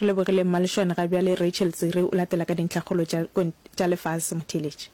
Re lebogile Mmalešwane ga bjale Rachel Tsiri o latela ka dintlhakgolo tša tša lefase motheeletši.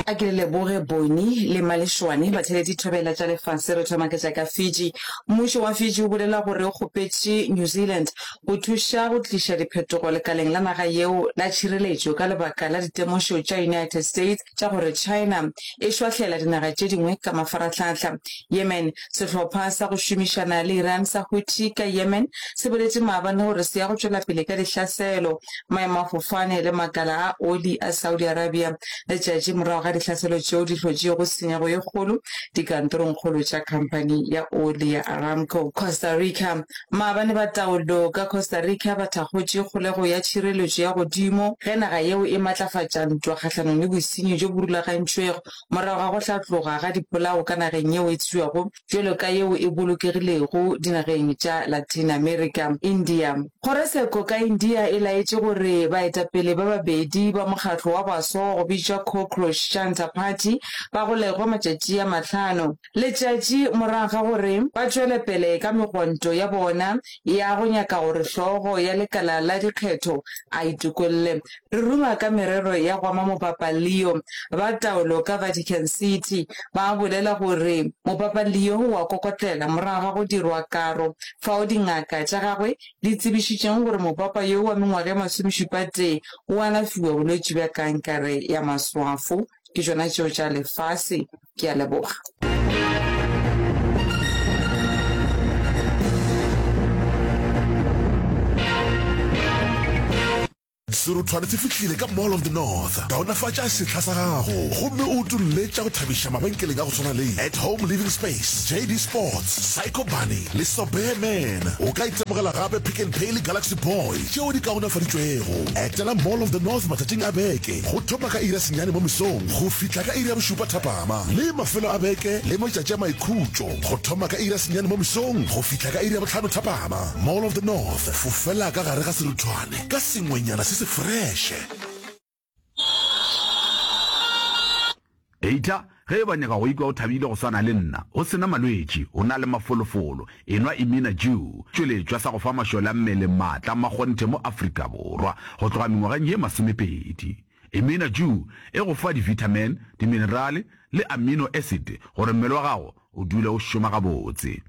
A ke le leboge Boni le Malešwane, batheeletši thobela tša lefase. Re thoma ka tša ka Fiji. Mmušo wa Fiji o bolela gore o kgopetše New Zealand go thuša go tliša diphetogo lekaleng la naga yeo la tšhireletšo ka lebaka la ditemošo tša United States tša gore China e šwahlela dinaga tše dingwe ka mafarahlahla. Yemen, Sehlopha sa go šomišana le Iran sa Houthi ka Yemen se boletše maabane gore se ya go tšwela pele ka dihlaselo maemafofane le makala a oli a Saudi Arabia letšatši morago ga dihlaselo tšeo di hlotšego tshenyego ye kgolo dikantorongkgolo tša khamphani ya oli ya Aramco. Costa Rica, Maabane ba taolo ka Costa Rica ba thakgotše kgolego ya tšhireletšo ya godimo ge naga yeo e matlafatša ntwa kgahlanong le bosenyi bjo bo rulagantšwego morago ga go hlatloga ga dipolao ka nageng yeo e tsebjago bjalo ka yeo e bolokegilego dinageng tša Latin America. India. Kgorotsheko ka India e laetše gore baetapele ba babedi ba mokgatlo wa baswa wa go bitšwa Cockroach Janta Party ba golegwe matšatši a mahlano Letšatši morago ga gore ba tšwele pele ka megwanto ya bona ya go nyaka gore hlogo ya lekala la dikgetho a itokolle. Re ruma ka merero ya go ama Mopapa Leo. Ba taolo ka Vatican City ba bolela gore Mopapa Leo o a kokotlela morago ga go dirwa karo fao dingaka tša gagwe di tsebišitšeng gore mopapa yo wa mengwaga e masomešupatee o alafiwa bolwetši bja kankere ya maswafo. Ke tšona tšeo tša lefase. Ke a leboga. Seruthwane se fihlile ka Mall of the North. Kaonafatša sehla sa gago gomme o utolle tša go thabiša mabenkeleng a go swana le At Home Living Space, JD Sports, Psycho Bunny le Sobear Man. O ka itemogela gape Pick n Pay le Galaxy Boy tšeo di kaonafaditšwego. Etela Mall of the North matšatšing a beke go thoma ka iri ya senyane mo mesong go fihla ka iri ya bošupa thapama le mafelo a beke le matšatši a maikhutšo go thoma ka iri ya senyane mo mesong go fihla ka iri ya bohlano thapama. Mall of the North, fofela ka gare ga seruthwane ka sengwenyana se se freše. Heita, ge e ba nyaka go ikwa o thabile go swana le nna, o se na malwetši, o na le mafolofolo, enwa Imina Dew, tšweletšwa sa go fa mašole a mmele maatla a makgonthe mo Afrika Borwa go tloga mengwageng ye masomepedi. Imina Dew e go fa di-vitamin, diminerale le amino acid gore mmele wa gago o dule o šoma gabotse.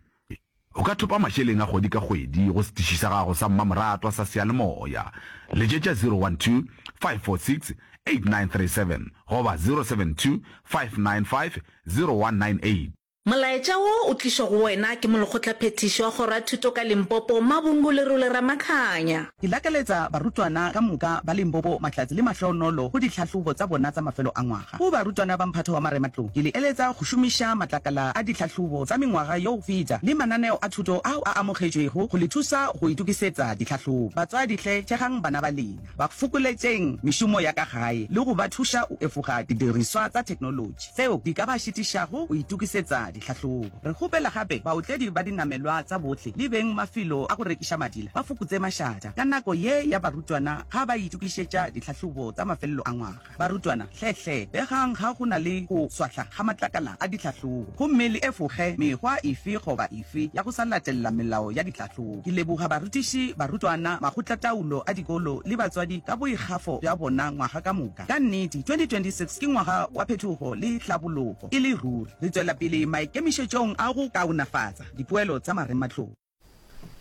O ka thopa mašeleng a kgwedi ka kgwedi go setiši sa gago sa mmamoratwa sa seyalemoya. Letšetša 012 546 8937 goba 072 595 0198. Molaetša wo o tlišwa go wena ke Molekgotlaphethiši wa Kgoro ya Thuto ka Limpopo, Mabungu Lerole Ramakhanya. Ke lakaletsa barutwana ka moka ba Limpopo mahlatse le mahlonolo go ditlhahlobo tsa bona tsa mafelo a ngwaga. Go barutwana ba mphato wa marematlou, ke le eletsa go šomiša matlakala a ditlhahlobo tsa mengwaga yo go feta le mananeo a thuto ao a amogetšwego go le thusa go itokisetsa ditlhahlobo. Batswadi hle thekgang bana ba lena, ba fokoletšeng mešomo ya ka gae le go ba thuša go efoga didiriswa tsa theknolotši tseo di ka ba šitišago go itokisetsa ditlhahlobo. Re kgopela gape baotledi ba dinamelwa tsa bohle le beng mafelo a go rekiša madila ba fokotse mašata ka nako ye ya barutwana ga ba itokišetša ditlhahlobo tsa mafelelo a ngwaga. Barutwana, hle hle begang ga go na le go swahla ga matlakala a ditlhahlobo gomme le efoge mekgwa efe goba efe ya go sa latelela melao ya ditlhahlobo. Ke leboga barutiši, barutwana, makgotlataolo a dikolo le batswadi ka boikgafo bja bona ngwaga ka moka. Ka nnete, 2026 ke ngwaga wa phetogo le hlabologo e le ruri. Re tšwela pele maikemišetšong a go kaonafatsa dipoelo tsa marematlou.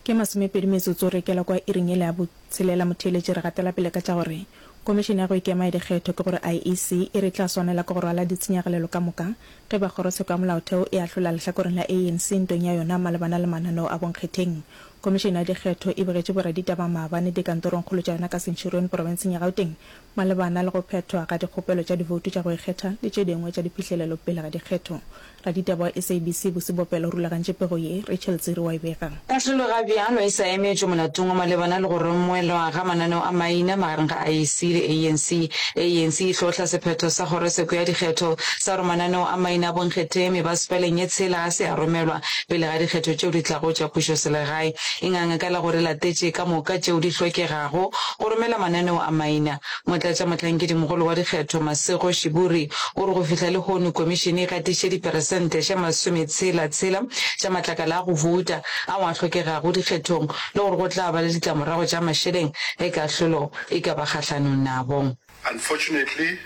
Ke masomepedi metsotso re kela kwa iring yela ya botshelela motheeletši re gatela pele ka tša gore Komišene ya go Ikema ya Dikgetho ke gore IEC e re e tla swanela ke go rwala ditshenyagalelo ka moka ge ba Kgorotsheko ya Molaotheo e ahlola lehlakoreng la ANC ntweng ya yona malebana le mananeo a bonkgetheng. Komišene ya Dikgetho e begetše boraditaba maabane dikantorongkgolo tša yona ka Centurion profenseng ya Gauteng malebana le go phethwa ga dikgopelo tša divoutu tša go ikgetha le tše dingwe tša diphihlelelo pele ga dikgetho. Raditaba wa SABC Busi Bopelo o rulagantše pego ye, Rachel Tsiri wa e bega. Kahlolo ga bjalo e sa emetšwe molatong wa malebana le go romelwa ga mananeo a maina magareng ga IEC le ANC. ANC e hlohla sephetho sa kgorotsheko ya dikgetho sa gore mananeo a maina a bonkgetheng mebasepaleng ye tshela ga se a romelwa pele ga dikgetho tšeo di tlago tša pušoselegae. E nganga ka la gore latetše ka moka tšeo di hlokegago go romela mananeo a maina. Motlatšamohlankedimogolo wa dikgetho Masego Shiburi o re go fihla lehono komišene e gatišitše diperesente tše masometshela tshela tša matlakala a go bouta ao a hlokegago dikgethong le gore go tla ba le ditlamorago tša mašeleng ge kahlolo e ka ba kgahlanong nabo. Unfortunately,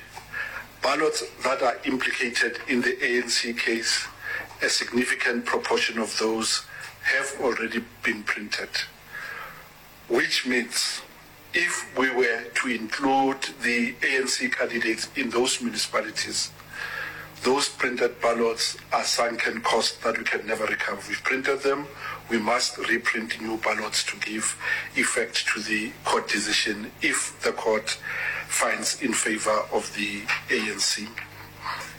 ballots that are implicated in the ANC case, a significant proportion of those have already been printed, which means if we were to include the ANC candidates in those municipalities, those printed ballots are sunken costs that we can never recover. We've printed them, we must reprint new ballots to give effect to the court decision if the court finds in favor of the ANC.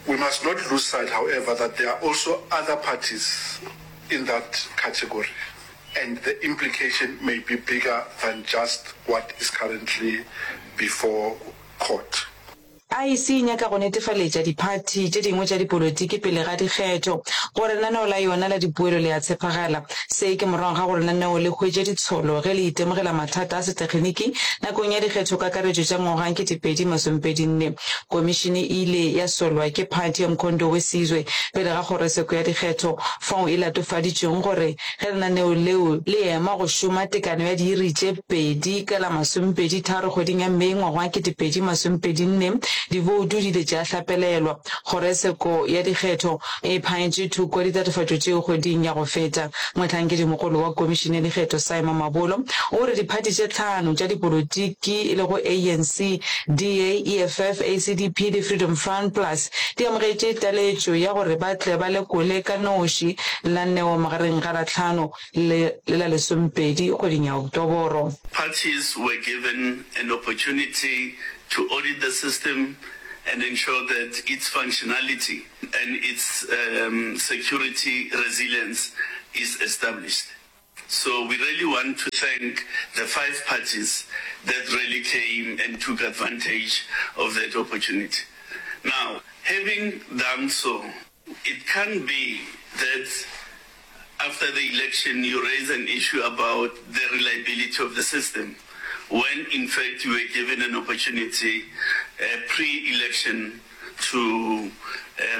We must not lose sight, however, that there are also other parties in that category and the implication may be bigger than just what is currently before court. IEC e nyaka go netefaletša diphathi tše dingwe tša dipolotiki pele ga dikgetho gore lenaneo la yona la dipoelo le a tshepagala. Se ke morago ga gore lenaneo le hwetše ditsholo ge le itemogela mathata a setekginiki nakong ya dikgethokakaretšo tša ngwaga 2024. Komišene e ile ya solwa ke phathi ya Mkhonto we Sizwe pele ga kgorotsheko ya dikgetho fao e latofaditšweng gore Ge lenaneo leo le ema go šoma tekano ya diiri tše pedi ka la masomepedi tharo kgweding ya Mei ngwaga wa 2024, diboutu di ile tša hlapelelwa. Kgorotsheko ya dikgetho e phaetše thoko ditatofatšo tšeo kgweding ya go feta. Mohlankedimogolo wa Komišene ya Dikgetho Simon Mabolo o re diphathi tše tlhano tša dipolotiki e lego ANC, DA, EFF, ACDP le Freedom Front Plus di amogetše taletšo ya gore ba tle ba lekole ka noši lenaneo magareng ga la tlhano le le la lesomepedi kgweding ya Oktoboro. Parties were given an opportunity to audit the system and ensure that its functionality and its security resilience is established. So we really want to thank the five parties that really came and took advantage of that opportunity. Now, having done so, it can't be that after the election you raise an issue about the reliability of the system when in fact you were given an opportunity uh, pre-election to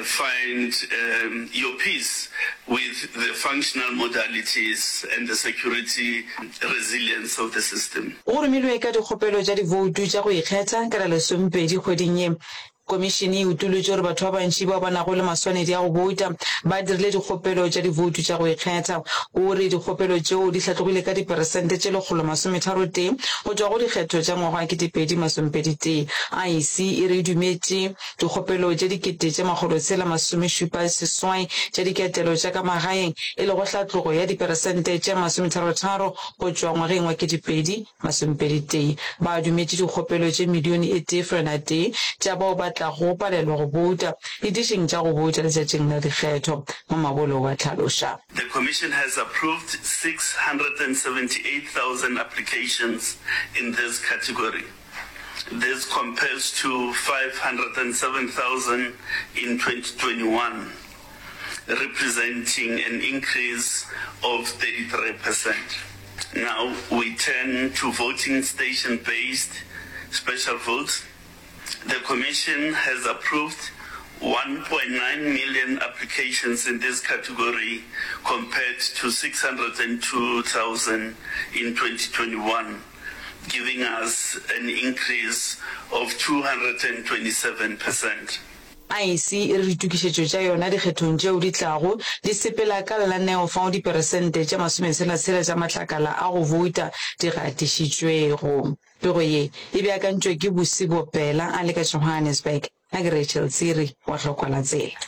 find your peace with the functional modalities and the security resilience of the system. Go romilwe ka dikgopelo tša divoutu tša go ikgetha ka la lesomepedi kgweding ye. Komišene e utolotše gore batho ba bantši bao ba nago le maswanedi a go bouta ba dirile dikgopelo tša divoutu tša go ikgetha. O re dikgopelo tšeo di hlatlogile ka diperesente tše 133 go tšwa go dikgetho tša ngwaga wa 2021. IEC e re e dumetše Dikgopelo tše 6678 tša diketelo tša ka magaeng, e lego hlatlogo ya diperesente tše 33 go tšwa ngwageng wa 2021. Ba dumetše dikgopelo tše milione e tee feela tee tša bao ba tlago palelwa go bouta ditišing tša go bouta letšatšing la dikgetho, Mamabolo wa hlaloša. The Commission has approved 678,000 applications in this category. This compares to 507,000 in 2021, representing an increase of 33%. Now we turn to voting station-based special votes. The Commission has approved 1.9 million applications in this category compared to 602,000 in 2021. Giving us an increase of 227 percent. IEC e re ditokišetšo tša yona dikgethong tšeo di tlago di sepela ka lenaneo fao diperesente tše masometshela-tshela tša matlakala a go bouta di gatišitšwego. Pego ye e beakantšwe ke Busi Bopela a le ka Johannesburg. Nna ke Rachel Tsiri wa Hlokwa la Tsela.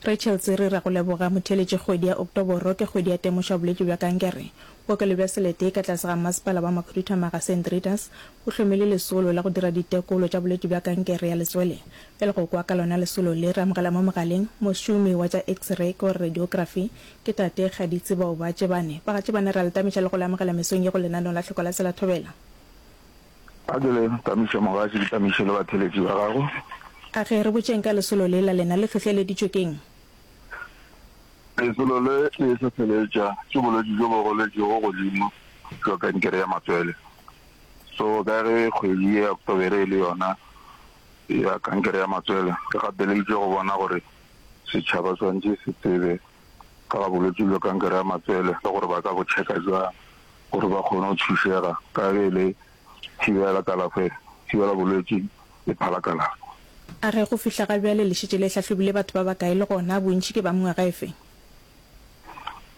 Rachel Tsiri, Ra go leboga motheeletši Kgwedi ya Oktoboro ke kgwedi ya temošo ya bolwetši bja kankere. Bookelo bja Selete ka tlase ga Masepala wa Makhuduthamaga St Rita's bo hlomile lesolo la go dira ditekolo tša bolwetši bja kankere ya letswele. Bjale go kwa ka lona lesolo le, re amogela mo mogaleng mošomi wa tša X-ray ke gore radiography ke Tate Gaditsi Baoba Tšebane. Ba ga Tšebane re a le tamiša le go le amogela mesong ye go lenaneo la Hloko la Tsela Thobela. A ke le tamiše mogatši, ke tamiše le batheeletši ba gago. A ge re botšeng ka lesolo le la lena, le hlohleleditšwe ke'ng? Lesolo le le hlohleletša ke bolwetši bjo bo goletšego godimo bja kankere ya matswele. So ka ge kgwedi ye ya Oktobere e le yona ya kankere ya matswele, re gapeleditšwe go bona gore setšhaba swanetše se tsebe ka ga bolwetši bja kankere ya matswele le gore ba ka bo checka bjang gore ba kgone go thušega ka ge e le thibela kalafo, thibela bolwetši e phala kalafo. A re go fihla ga bjale le šetše le hlahlobile batho ba bakae le gona bontši ke ba mengwaga efe?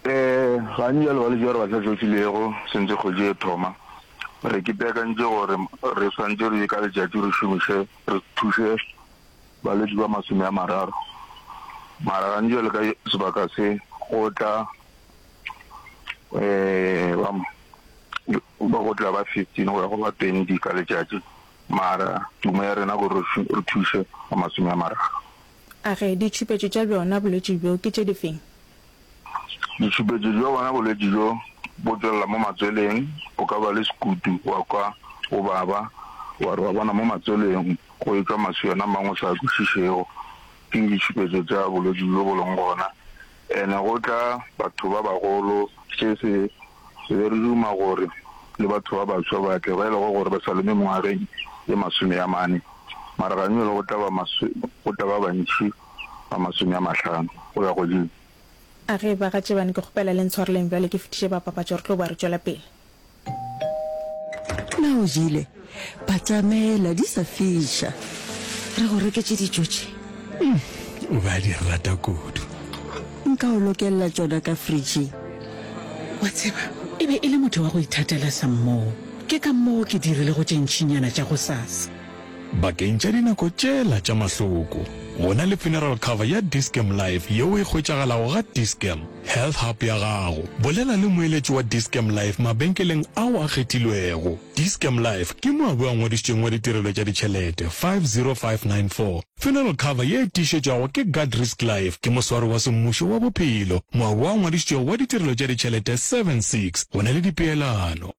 Ee, gantši bjale balwetši ba re ba hlahlofilego sentse kgwedi e thoma, re ipeakantše gore re swanetše re ka letšatši re šomiše re thuše balwetši ba 30. Mara gantši bjale ka sebaka se go tla ba ba go tla ba 15 go ya go ba 20 ka letšatši. Mara tumo ya rena gore re thuše ba 30. A re, Ditšhupetšo tša bjona bolwetši bjo ke tše difeng? Ditšhupetšo tša bona bolwetši bjo bo tšwelela mo matsweleng, o ka ba le sekutu wa kwa o baba, wa re wa bona mo matsweleng go etšwa maswiana a mangwe o sa a kwešišego. Ke ditšhupetšo tša bolwetši bjo bo leng gona. Ene go tla batho ba bagolo, se se re be re duma gore le batho ba baswa ba tle, ba e lego gore ba sa le mengwageng ye 40, mara ganyole go tla ba go tla ba bantši ba 50 go ya godimo. A ge ba ga Tšebane ke kgopela le ntshwareleng bjale ke fetiše ba papatšo re tlo boa re tšwela pele. Na o jele? Batamela di sa fiša. Re go reketše dijo tše. Mm, o be a di rata kudu. Nka o lokelela tšona ka fridging. Wa tseba, e be e le motho wa go ithatela sammoo. Ke ka moo ke dirilego tše ntšinyana tša gosasa. Bakeng tša dinako tšela tša mahloko, go na le funeral cover ya Dis-Chem Life yeo e hwetšagalago ga Dis-Chem Health Hub ya gago. Bolela le moeletši wa Dis-Chem Life mabenkeleng ao a kgethilwego. Dis-Chem Life ke moabi wa ngwadišitšweng wa ditirelo tša ditšhelete 50594. Funeral cover ye e tiišetšwago ke Guardrisk Life ke moswari wa semmušo wa bophelo, moabi wa ngwadišitšwego wa ditirelo tša ditšhelete 76. Go na le dipeelano.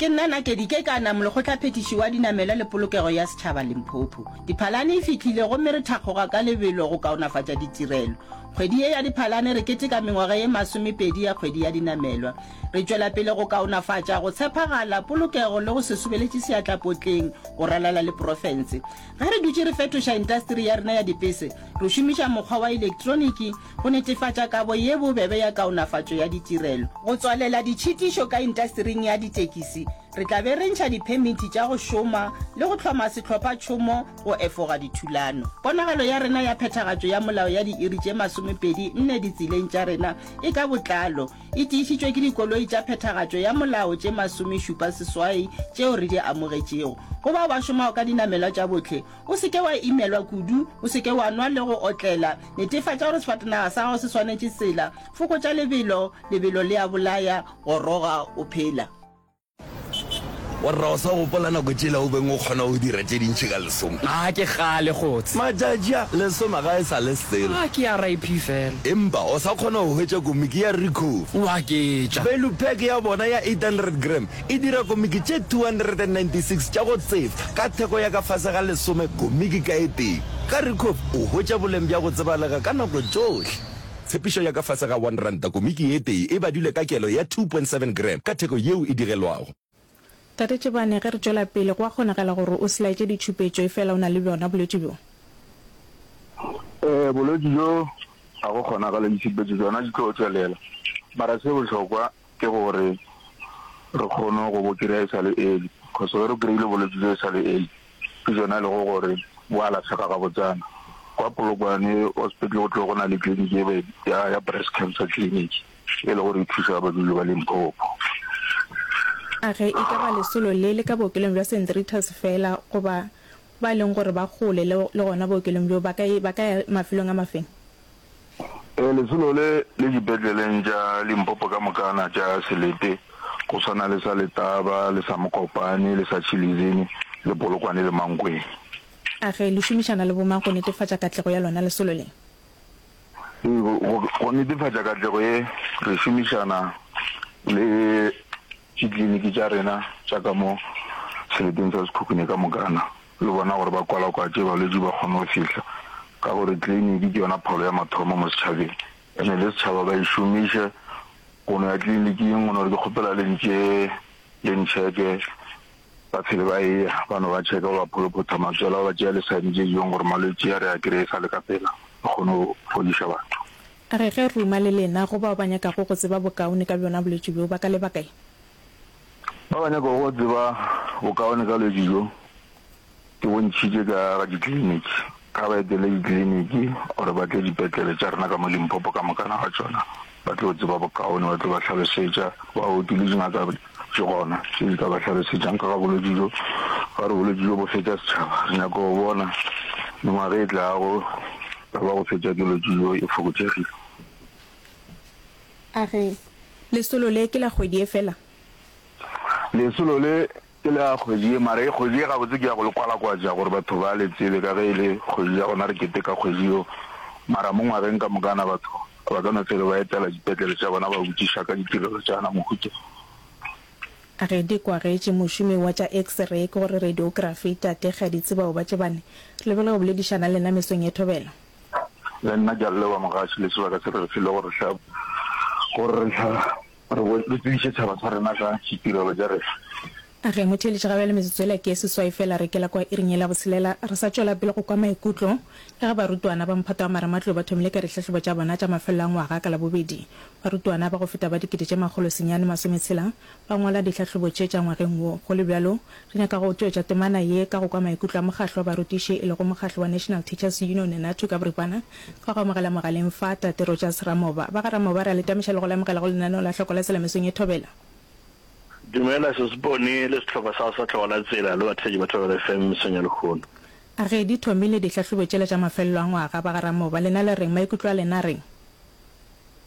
Ke nna Nakedi Kekana, Molekgotlaphethiši wa Dinamelwa le Polokego ya Setšhaba Limpopo. Diphalane e fihlile gomme re thakgoga ka lebelo go kaonafatša ditirelo. Kgwedi ye ya Diphalane re keteka mengwaga ye masomepedi ya Kgwedi ya Dinamelwa. Re tšwela pele go kaonafatša go tshepagala, polokego le go se sobeletše seatla potleng go ralala le profense. Ge re dutše re fetoša intasteri ya rena ya dipese, re šomiša mokgwa wa elektroniki go netefatša kabo ye bobebe ya kaonafatšo ya ditirelo. Go tswalela ditšhitišo ka intastering ya ditekisi, re tla be re ntšha diphemiti tša go šoma le go hloma sehlophatšhomo go efoga dithulano. Ponagalo ya rena ya phethagatšo ya molao ya diiri tše 24 ditseleng tša rena e ka botlalo e tiišitšwe ke dikoloi tša phethagatšo ya molao tše 78 tšeo re di amogetšego. Go bao ba šomago ka dinamelwa tša bohle, O se ke wa imelwa kudu, o se ke wa nwa le go otlela. Netefatša gore sefatanaga sa gago se swanetše tsela. Fokotša lebelo, lebelo le a bolaya, goroga o phela. Warra o sa gopola nako tšela o beng o kgona go dira tše dintši ka lesome? A ke kgale kgotse. Matšatši a, lesome ga e sa le selo. A ke RIP fela. Empa o sa kgona go hwetša komiki ya Ricoh. O aketša. Value pack ya bona ya 800 gram E dira komiki tše 296 tša go tsefa ka theko ya ka fase ga lesome komiki ka e tee. Ka Ricoh o hwetša boleng bja go tsebalega ka nako tšohle. Tshepišo ya ka fase ga R1 komiki e tee e badilwe ka kelo ya 2.7 gram ka theko yeo e digelwago. Tate Tšebane, ge re tšwela pele, go a kgonagala gore o se laetše ditšhupetšo efela o na le bjona bolwetši bjo? Ee, bolwetši bjo ga go kgonagale ditšhupetšo tšona di tlo tšwelela. Mara se bohlokwa Ke gore re kgone go bo kry-a e sa le early, cause ge re kry-ile bolwetši bjo e sa le early, ke tšona e lego gore bo alafega gabotsana. Kwa Polokwane hospital go tlo go na le clinic e be ya, ya breast cancer clinic e le gore e thuša badudi ba Limpopo. A ge e ka ba lesolo le le ka bookelong bja Saint Rita's feela goba ba e leng gore ba kgole le, le gona bookelong bjo ba ka, ba ka ya mafelong a mafeng? Ee, lesolo le le dipetleleng tša Limpopo ka mokana tša selete, go swana le sa Letaba, le sa Mokopane, le sa Tshilizini, le Polokwane le Mankweng. A ge le šomišana le bomang go netefatša katlego ya lona lesolo le? Ee, go, go netefatša katlego ye, re šomišana le dikliniki tša rena tša ka mo seleteng sa Sekhukhune ka mokana. le bona gore ba kwalakwatše balwetši ba kgone go fihla, ka gore tleliniki ke yona pholo ya mathomo mo setšhabeng. Ene le setšhaba ba e šomiše go no ya tleliniking go no re ke kgopela le ntšee le ntšheke. Ba phele ba eya ba no ba tšheka ba ba pholophotha matswele ba ba tšea le sign tše jong gore malwetši a re a kreye sa le ka pela re kgone go fodiša batho. A re ge ruma le lena go bao ba nyakago go tseba bokaone ka bjona bolwetši bjo ba ka leba kae? Ba ba nyakago go tseba bokaone ka bolwetši bjo ke bontšhitše ka ga ditleliniki. Ga ba etele ditleliniki or ba tle dipetlele tša rena ka mo Limpopo ka mokana ga tšona, ba tlo tseba bokaone, ba tlo ba hlalosetša. Baoki le dingaka di gona tše di ka ba hlalosetšang ka ga bolwetši bjo. Ba re bolwetši bjo bo fetša setšhaba, re nyaka go bona mengwaga e tlago taba ya go fetša ke bolwetši bjo e fokotšegile. A re, Lesolo le ke la kgwedi ye fela? Lesolo le Ke le ya kgwedi ye, mara ye kgwedi ye gabotse ke ya go le kwalakwatša gore batho ba le tsebe ka ge e le kgwedi ya gona re keteka kgwedi yeo. Mara mo ngwageng ka mokana batho ba ka no fele ba etela dipetlele tša bona ba botšiša ka ditirelo tša gona mohuta. A Ge di kwagetše mošomi wa tša X-ray ke gore radiography, Tate Kgaditsi Baobatšebane, re lebile go boledišana le lena mesong ye thobela. Le nna ke a le leboga mogaši le sebaka se re re file gore re gore re hla Re bo, re tsebiše tšhaba sa rena ka ditirelo tša rena. A Ge motheeletši ga bjale metsotso yela ke ye seswai feela re kela kwa iring yela botshelela, re sa tšwela pele go kwa maikutlo ka ge barutwana ba mphato wa marematlou ba thomile ka dihlahlobo tša bona tša mafelelo a ngwaga ka Labobedi. Barutwana ba go feta ba 1660 ba ngwala dihlahlobo tše tša ngwageng wo. Go le bjalo, re nyaka go tšwetša temana ye ka go kwa maikutlo a mokgahlo wa barutiši e lego mokgahlo wa National Teachers Union, NATU, ka boripana. Ka go amogela mogaleng fa, Tate Rogers Ramoba. Ba ga Ramoba, re a le tamiša le go le amogela go lenaneo la Hloko la Tsela mesong ye thobela. Dumela Sesipone le sehlopha sa gago sa Hloko la Tsela le batheetši ba Thobela FM mesong ya lehono. A Ge di thomile dihlahlobo tšela tša mafelelo a ngwaga, ba ga Ramoba, lena le reng? Maikutlo a lena a reng?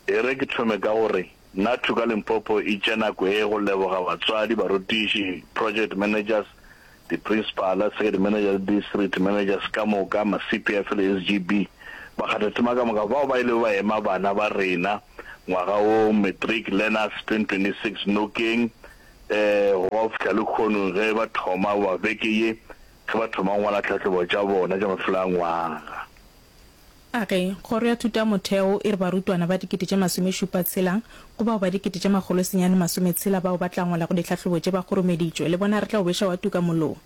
E re ke thome ka go re, Nathu ka Limpopo e tšea nako ye go leboga batswadi, barutiši, project managers, Diprinsipala, second manager le district managers ka moka, ma-CPF le SGB, bakgathatema ka moka bao ba ilego ba ema bana ba rena ngwaga wo, Matric Learners 2026, nokeng go ba go fihla lehono ge ba thoma goba beke ye ge ba thoma go ngwala tlhahlobo tša bona tša mafelo a ngwaga. A re, Kgoro ya Thuto ya Motheo e re barutwana ba 76,000 go bao ba 960 bao ba tla ngwalago dihlahlobo tše ba kgoromeditšwe. Le bona re tla o beša wa tuka mollo.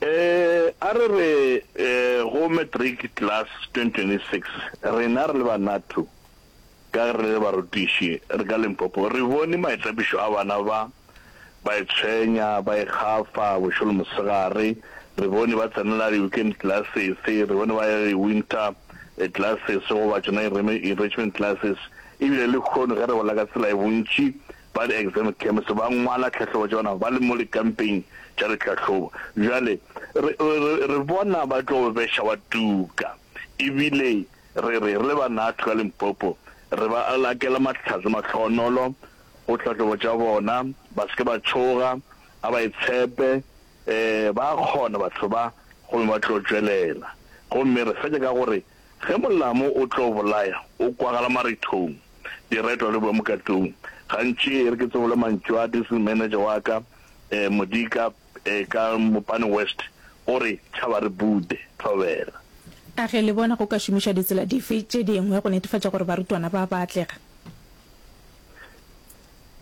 E, a re re go Matric Class 2026, rena re le ba NATU, Ka ge re le barutiši, re ka Limpopo, re bone maitapišo a bana ba, ba itshwenya, ba ikgafa bošego le mosegare. Re bone ba tsenela di-weekend classes, re bone ba ya di-winter classes goba tšona enrichment classes. Ebile lehono ge re bolela ka tsela ye, bontši ba di-exam camps ba ngwala tlhahlobo tša bona ba le mo dikampeng tša ditlhahlobo. Bjale re, re, re bona ba tlo beša wa tuka ebile Re re, re le ba Nathu ka Limpopo, re ba lakela mahlatse mahlohonolo go tlhahlobo tša bona, ba se ke ba tšhoga, a ba itshepe, ee, ba a kgona batho ba, gomme ba tlo tšwelela. Gomme re fetša ka gore, ge molamo o tlo bolaya, o kwagala marithong, diretwa le boemokatong. Gantši e re ke tsebole mantšu a district manager wa ka, ee, Modika, E ka Mopane West o re tšhaba re bude, thobela. A ge le bona go ka šomišwa ditsela dife tše dingwe go netefatša gore barutwana ba ba atlega?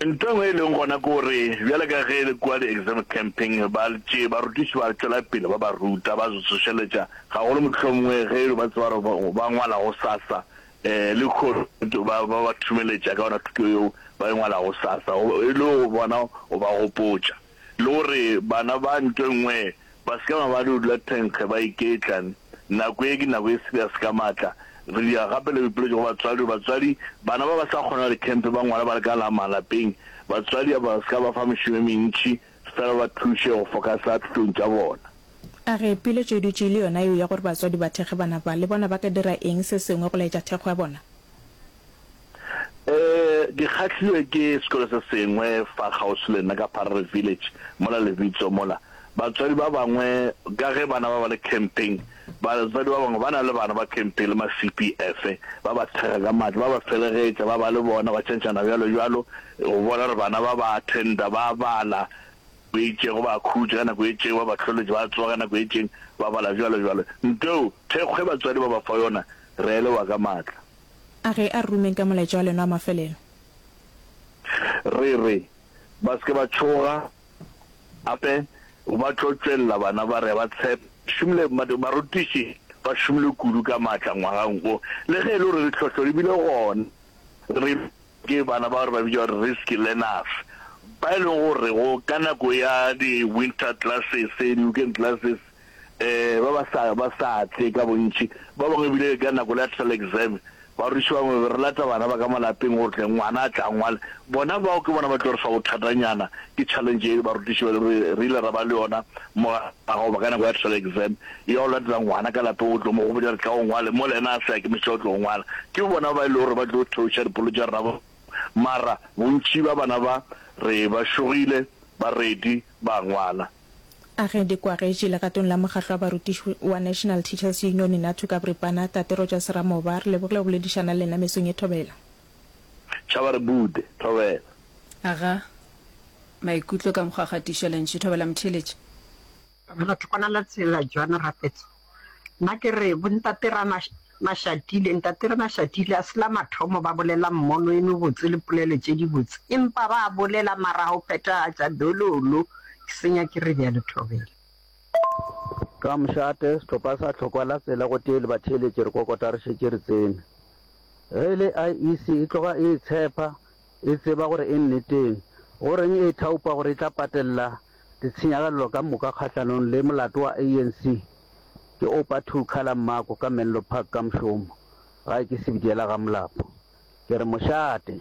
Ntho e nngwe e leng gona ke gore bjale ka ge le kua di-exam camping ba tše barutiši ba tšwela pele ba ba ruta ba tsošeletša gagolo mohlomongwe ge ba tseba gore ba ngwala gosasa um lehono ba ba thumeletša ka yona thuto yeo ba e ngwala gosasa e le go bona go ba gopotša. Le gore bana ba ntho e nngwe ba se ke ba ba dula thenkge ba iketla. Nako ye ke nako e serious ka maatla. Re dira gape le boipiletšo go batswadi gore batswadi bana ba ba sa kgona dikhempe ba ngwala ba le ka la malapeng, batswadi a ba se ka ba fa mešomo e mentši fela ba ba thuše go focusa thutong tša bona. A re piletšo e dutše e le yona yeo ya gore batswadi ba thekge bana ba, le bona ba ka dira eng se sengwe go laetša thekgo ya bona? Ee, ke kgahlilwe ke sekolo se sengwe fa kgauswi le nna ka Pharare Village, mola Lebitso mola. Batswadi ba bangwe, ka ge bana ba ba le camping, batswadi ba bangwe ba na le bana ba camping le ma CPF, ba ba thekga ka matla, ba ba felegetša, ba ba le bona, ba tšhentšhana bjalo bjalo, go bona gore bana ba ba attenda, ba bala nako e itšego, ba khutša ka nako e itšeng, ba ba hloletša, ba tsoga ka nako e itšeng, ba bala bjalo bjalo. Nto eo, thekgo e batswadi ba ba fa yona, re a e leboga ka matla. A ge a re rumeng ka molaetša wa lena wa mafelelo. Re re ba se ke ba tšhoga, gape ba tlo tšwelela bana ba re ba tshepa. Šomile, barutiši ba šomile kudu ka maatla ngwagang wo. Le ge e le gore ditlhohlo di bile gona, re ke bana ba re ba bitša gore risk learners, ba e leng gore go ka nako ya di-winter classes, di-weekend classes, um ba ba sa ba sa tle ka bontši. Ba bangwe ebile ka nako le ya trial exam, barutiši ba bangwe be re lata bana ba ka malapeng gore tle ngwana a tla ngwale. Bona bao ke bona ba tlo re fa bothatanyana, ke challenge e barutiši ba re re ile ra ba le yona mo goba ka nako ya trial exam ya go latela ngwana ka lapeng o tlo mo gopotša re tla o ngwale mola yena a se a ikemišetša go tlo ngwala. Ke bona ba e le gore ba tlo theoša dipolo tša rena mara bontši ba bana ba re ba šogile ba ready ba ngwala. A ge di kwagetše legatong la mokgahlo wa barutiši wa National Teachers Union, NATU ka boripana, Tate Rogers Ramoba, re lebogile go boledišana le lena mesong ye Thobela. Tšhaba re bude, Thobela. Aga, maikutlo ka mokgwa kgatišo lentšu Thobela Motheeletši. Batho kwana la tsela Joan Rapetso. Nna ke re bontate ra Mashatile, ntate ra Mashatile a se la mathomo ba bolela mmono e mebotse le polelo tše dibotse, empa ba bolela mara go phethagatša dololo ke senya ke re bjalo Thobela. Ka mošate, sehlopha sa Tlhokwa la Tsela gotee le batheeletši re kokota re šetše re tsene. Ge e le IEC e tloga e itshepa, e tseba gore e nneteng. Go reng e ithaopa gore e tla patella ditshenyagalelo ka moka kgahlanong le molato wa ANC? Ke Oupa Thukhala Mmako ka Menlo Park ka mošomo. Gae ke Sebitiela ga Molapo. Ke re mošate.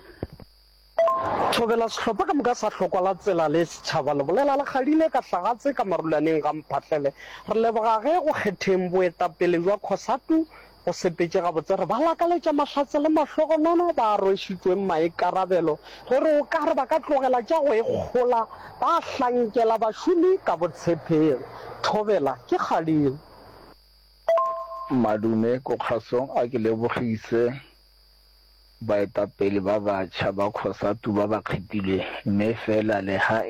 Thobela sehlopha ka moka sa Hlokwa la Tsela le Setšhaba le bolela le kgadile ka Hlagatse ka Marulaneng ga Mphahlele. Re leboga ge go kgetheng boetapele bja Cosatu go sepetše gabotse. Re ba lakaletša mahlatse le mahlogonono ba rwešitšweng maikarabelo. Re re o ka re ba ka tlogela tša go ikgola ba hlankela bašomi ka botshepegi. Thobela ke kgadile. Madume ko kgasong a ke lebogise baetapele ba batjha ba Cosatu ba ba kgethilweng mme fela le ha e.